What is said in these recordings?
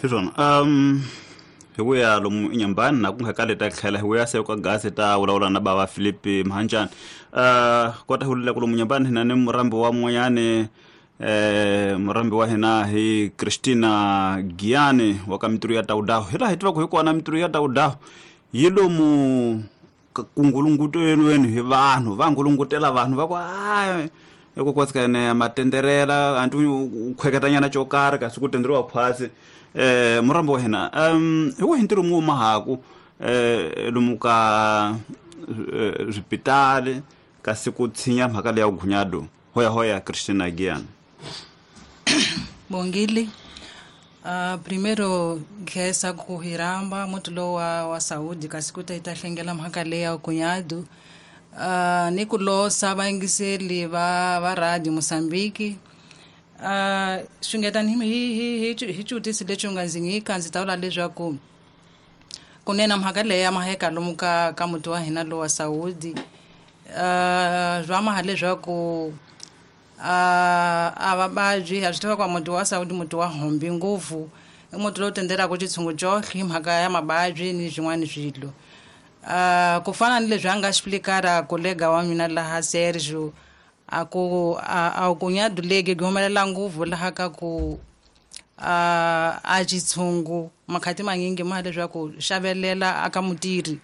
Hi swona. Hi ku ya lomu inyambani na ku nga kale ta tlhela hi vuya se ka gasi ta vulavula na bava Philip Mhanjani. Kota hi vulela ku lomu nyambani hina ni murambi wa mun'wanyani, murambi wa hina hi Christina Giyani wa ka Mitirho ya Tawudaho. Hi laha hi tivaka hi kona Mitirho ya Tawudaho yi lomu ku ngulungutelweni hi vanhu, va ngulungutela vanhu va ku hayi hikokwalaho ka yena matenderela anti u khweketanyana xo karhi kasi ku tenderiwa khwatsi. Murambi wa hina, hi wihi ntirho mu mahaku lomu ka swipitali kasi ku tshinya mhaka leya gunyado? Hoya hoya Christina Giyani. Bongile. Primeiro khensa ku hi rhamba muti lowu wa Saúde kasi ku ta yi ta hlengela mhaka leyi ya gunyado. Ni ku losa vayingiseli va radio Mozambique. Xungeta hi xivutiso lexi u nga ndzi nyika, ndzi ta vula leswaku kunene mhaka leyi ya maheka lomu ka muti wa hina lowa Saúde. Swa maha leswaku a va vabyi, ha swi tiva ku muti wa Saúde muti wa hombi ngopfu, i muti lowu tendelaka xitshungu xohle hi mhaka ya mavabyi ni swin'wana swilo. Ku fana ni leswi a nga explicar kolega wa mina laha Sergio, a ku a gunyado legi byi humelela ngopfu laha ka ku a xitshungu makhati manyingi ma leswaku xavelela aka mutirhi.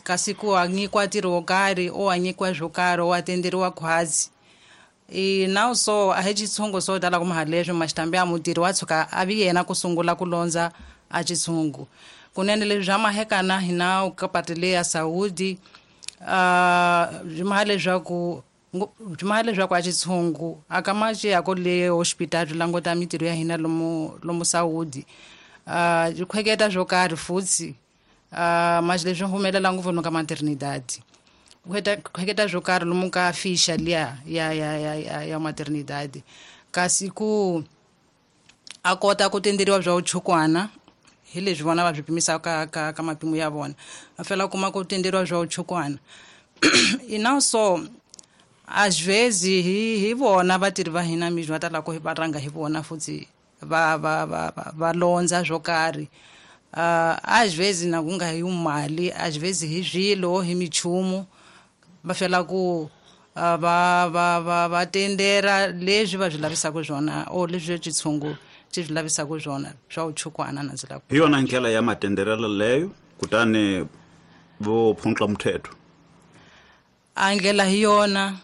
Kasi ku a nyikiwa ntirho wo karhi o a nyikiwa swo karhi o a tenderiwa khwatsi. I now so a hi xitshungu swo tala ku maha leswi maxitambi ya mutirhi wa tshuka a vi yena ku sungula ku londza a xitshungu. Kunene leswi swa mahekana hina ka pati leyi ya Saúde, byi maha leswaku byi maha leswaku a xitshungu a ka ma xi yako le hospital byi languta mitirho ya hina lomu Saúde. Byi khweketa swo karhi futhi. Mas leswi humelela ngopfu lomu ka maternidade. Khweketa swo karhi lomu ka ficha liya ya maternidade. Kasi ku a kota ku tenderiwa bya vuchukwana hi leswi vona va swi pimisaka ka mapimo ya vona. Va fela kuma ku tenderiwa bya vuchukwana. Ina so às vezes hi vona vatirhi va hina mi va tala ku va rhanga hi vona futhi va londza swo karhi. Às vezes na ku nga hi mali, às vezes hi swilo, hi minchumu, va fela ku va tendera leswi va swi lavisaka swona o leswi xitshungu xi swi lavisaka swona swa vuchukwana na ndzi lava. Hi yona ndlela ya matenderelo leyo, kutani vo phunxa muthetho. A ndlela hi yona,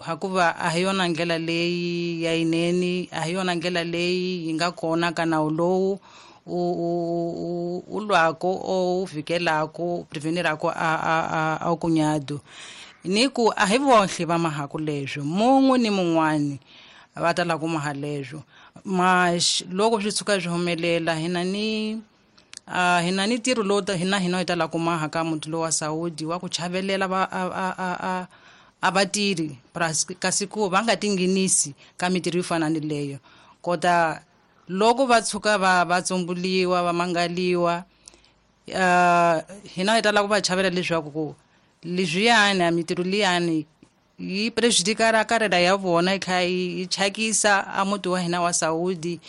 hikuva a hi yona ndlela leyi ya yinene, a hi yona ndlela leyi yi nga kona ka nawu lowu u lwako o u vhikelako, prevenirako a kunyado. Ni ku a hi vohle va mahaku leswo, mun'we ni mun'wani va tala ku maha leswo. Mas loko swi tshuka swi humelela hina ni ntirho lowu hina hi tala ku maha ka muti lowu wa Saúde wa ku chavelela va a vatirhi kasi ku va nga tinghenisi ka mitirho yo fana ni leyo. Kota loko va tshuka va tsumbuliwa, va mangaliwa, hina hi tala ku va chavela leswaku ku leswiyani a mitirho liyani yi prejudikara karela ya vona yi kha yi thyakisa a muti wa hina wa Saúde.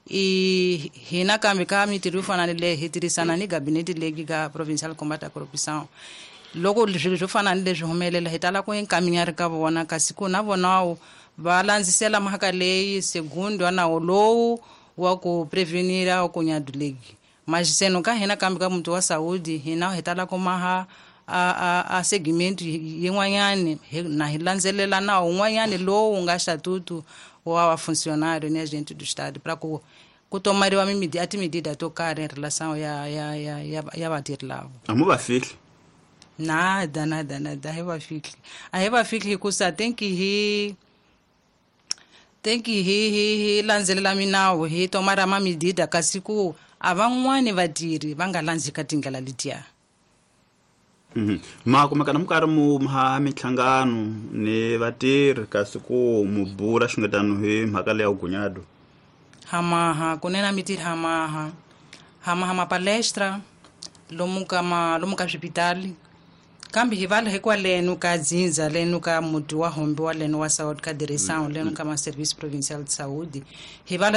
I hina kambe ka mitirho yo fana ni leyi hi tirhisana ni gabinete leyi ka Provincial Combat à Corruption. Loko swilo swo fana ni leswi humelela hi tala ku encaminhar ka vona, kasi ku na vona va landzisela mhaka leyi segundo nawu lowu wa ku prevenir ku nyadulegi. Mas seno ka hina kambe ka muti wa Saúde hina hi tala ku maha a segment yin'wanyani, na hi landzelela nawu wun'wanyani lowu nga statuto wa funcionário ni agente do Estado pra ku tomariwa a timedida to karhi em relação ya vatirhi lava. A mu va fihli? Nada, nada, nada, a hi va fihli. A hi va fihli hikusa think hi landzelela minawu, hi tomara ma medida, kasi ku a van'wani vatirhi va nga landzi ka tindlela letiya. Ma kumeka na mi karhi mu ha minhlangano ni vatirhi kasi ku mu bula xungetano hi mhaka leya gunyado? Hamaha kunene mitirhi, hamaha mapalestra lomu ka swipitali, kambe hi vala hikwaleno ka dzindza leno ka muti wa hombi wa leno wa Saúde, ka direção leno ka ma service provincial de saúde hi vala.